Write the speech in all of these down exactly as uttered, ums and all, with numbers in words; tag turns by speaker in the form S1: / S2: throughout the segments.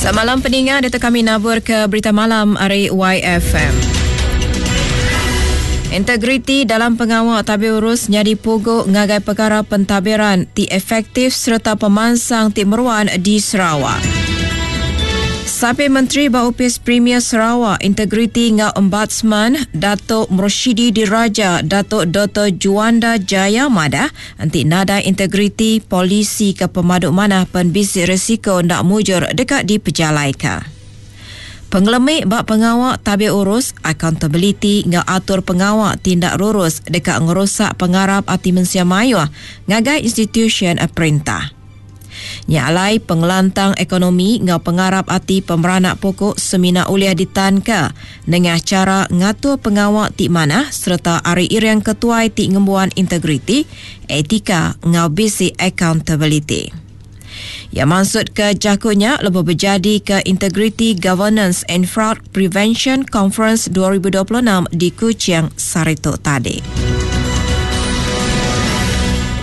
S1: Selamat malam peninga, dito kami nabur ke berita malam ari Y F M. Integriti dalam pengawal tabir urus nyadi pugu ngagai perkara pentadbiran ti efektif serta pemansang ti meruan di Sarawak. Sapi Menteri ba Opis Premier Sarawak Integriti ngau Ombudsman Datuk Murshidi Diraja Datuk Doktor Juanda Jaya madah enti nada integriti polisi ke pemaduk manah penbisi risiko ndak mujur dekat dipejalaika. Pengelemik bak pengawak tabir urus, accountability ngau atur pengawak tindak lurus dekat ngerusak pengarap ati mensia mayuh ngagai institution perintah. Nyalai pengelantang ekonomi ngau pengarap ati pemeranak pokok semina uliah ditanka dengan cara ngatur pengawak ti manah serta ari iriang ketuai ti ngembuan integriti, etika ngau bisi accountability. Ya maksud ke jakunya lebih berjadi ke Integrity Governance and Fraud Prevention Conference dua ribu dua puluh enam di Kuching Sarito tadi.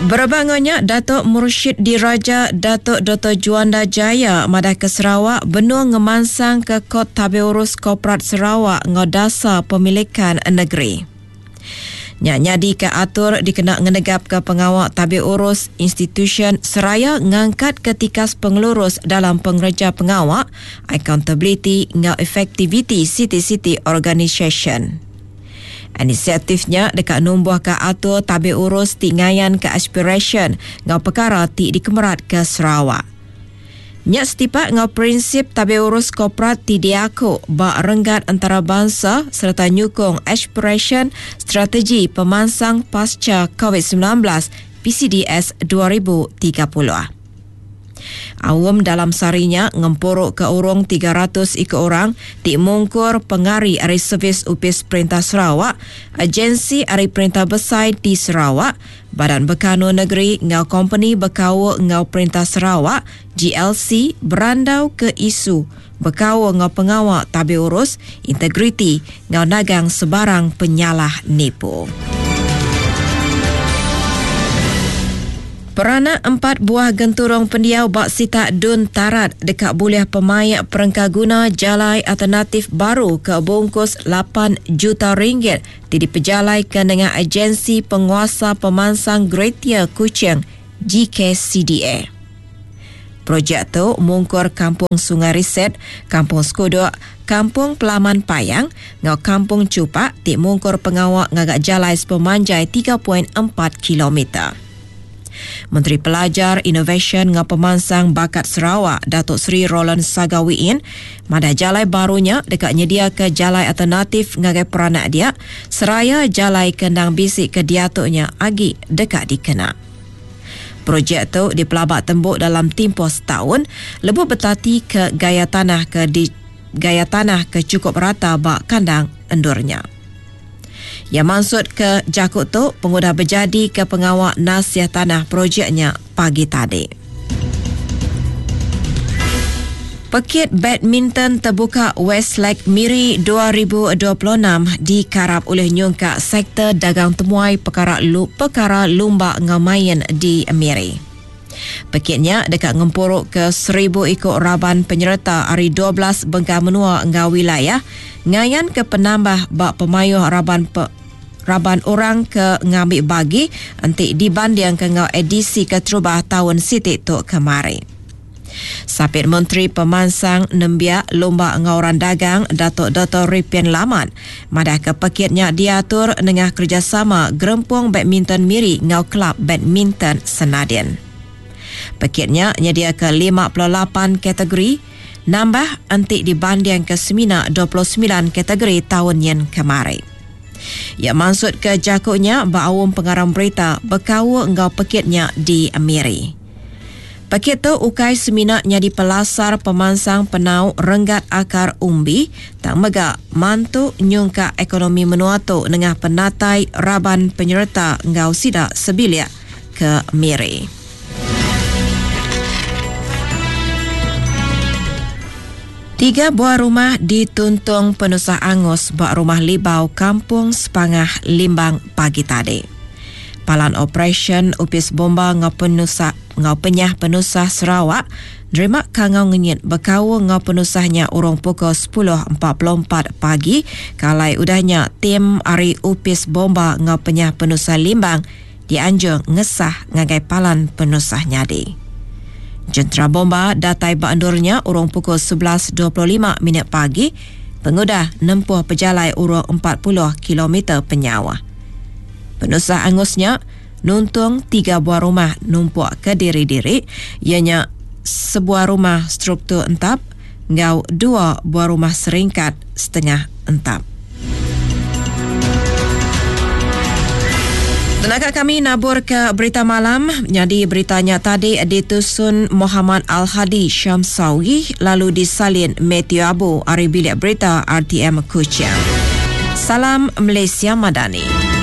S1: Berbangunnya Datuk Murshid Diraja Datuk Doktor Juanda Jaya madah ke Sarawak benung ngemansang ke Kod Tabir Urus Korporat Sarawak ngau dasar pemilikan negeri. Nya nyadi ke atur dikena ngenegap ke pengawak tabir urus institution seraya ngangkat ke tikas pengelurus dalam pengerja pengawak, accountability ngau effectivity city-city organisation. Inisiatifnya dekat numbuh ke atur tabir urus ti ngayan ke aspiration ngau perkara ti dikemerat ke Sarawak. Nya setipak ngau prinsip tabir urus korporat ti diaku ba renggat antarabangsa serta nyukung aspiration strategi pemansang pasca COVID sembilan belas P C D S dua ribu tiga puluh. Awam dalam sarinya ngempuruk ke urung tiga ratus ikut orang ti mungkur pengari ari servis Upis Perintah Sarawak, agensi ari Perintah Besai di Sarawak, Badan Bekanu Negeri ngau kompeni Bekau ngau Perintah Sarawak G L C berandau ke isu Bekau ngau pengawak tabir urus, integriti ngau nagang sebarang penyalah nipu. Peranak empat buah genturung pendiau bak sitak Dun Tarat dekat boleh pemayak perengkaguna jalai alternatif baru ke bungkus lapan juta ringgit di dipejalaikan dengan Agensi Penguasa Pemansang Greater Kuching G K C D A. Projek tu mungkur Kampung Sungai Riset, Kampung Skuduk, Kampung Pelaman Payang, ngau Kampung Cupak ti mungkur pengawak ngagak jalai sepemanjai tiga perpuluhan empat kilometer. Menteri Pelajar Inovasi ngau Pemansang Bakat Sarawak Datuk Seri Roland Sagawiin madah jalai barunya dekat nyedia ke jalai alternatif ngagai peranak dia seraya jalai kendang bisik ke diatuknya agi dekat dikena. Projek tu dipelabak tembuk dalam tempoh setahun lebuh bertati ke gaya tanah ke di, gaya tanah ke cukup rata bak kandang endurnya. Ya maksud ke jakut tu pengudah berjadi ke pengawak nasihat tanah projeknya pagi tadi. Pekit badminton terbuka Westlake Miri dua ribu dua puluh enam dikarap oleh nyungkak sektor dagang temuai perkara lu-, perkara lumba ngamain di Miri. Pekitnya dekat ngempuruk ke seribu ikut raban penyerta hari dua belas bengkah menua ngau wilayah ngayan ke penambah bak pemayuh raban pe-, raban orang ke ngambil bagi entik dibanding ke ngau edisi keterubah tahun sitik tu kemari. Sapit Menteri Pemansang Nembiak Lomba Ngauran Dagang Datuk Doktor Ripin Lamat madah ke pekitnya diatur nengah kerjasama Gerempung Badminton Miri ngau Kelab Badminton Senadin. Pekitnya nyedia ke lima puluh lapan kategori nambah entik dibanding ke semina dua puluh sembilan kategori tahun yang kemarin. Ya maksud ke jakutnya baawum pengarang berita berkau engkau pekitnya di Miri. Pekit tu ukai semina nyadi pelasar pemansang penau renggat akar umbi tak megak mantu nyungka ekonomi menua tu nengah penatai raban penyerta ngau sidak sebiliak ke Miri. Tiga buah rumah dituntung penusah angus bak rumah Libau Kampung Sepangah Limbang pagi tadi. Palan Operasi Upis Bomba ngau penusah ngau penyah penusah Sarawak nerima kangau ngenyit bekaul enggau penusah nya urung pukul sepuluh empat puluh empat pagi ke alai udah nya tim ari Opis Bomba enggau Penyah Penusah Limbang dianjung ngesah ngagai palan penusah nyadi. Jentera bomba datai ba endur nya urung pukul sebelas dua puluh lima minit pagi pengudah nempuh pejalai urung empat puluh kilometer penyauh. Penusah angus nya nuntung tiga buah rumah numpuk ke diri-diri, iya nya sebuah rumah struktur entap enggau dua buah rumah seringkat setengah entap. Tenaga kami nabur ke berita malam, nyadi berita nya tadi ditusun Muhammad Al-Hadi Syamsawi lalu disalin Matthew Abu ari bilik berita R T M Kuching. Salam Malaysia Madani.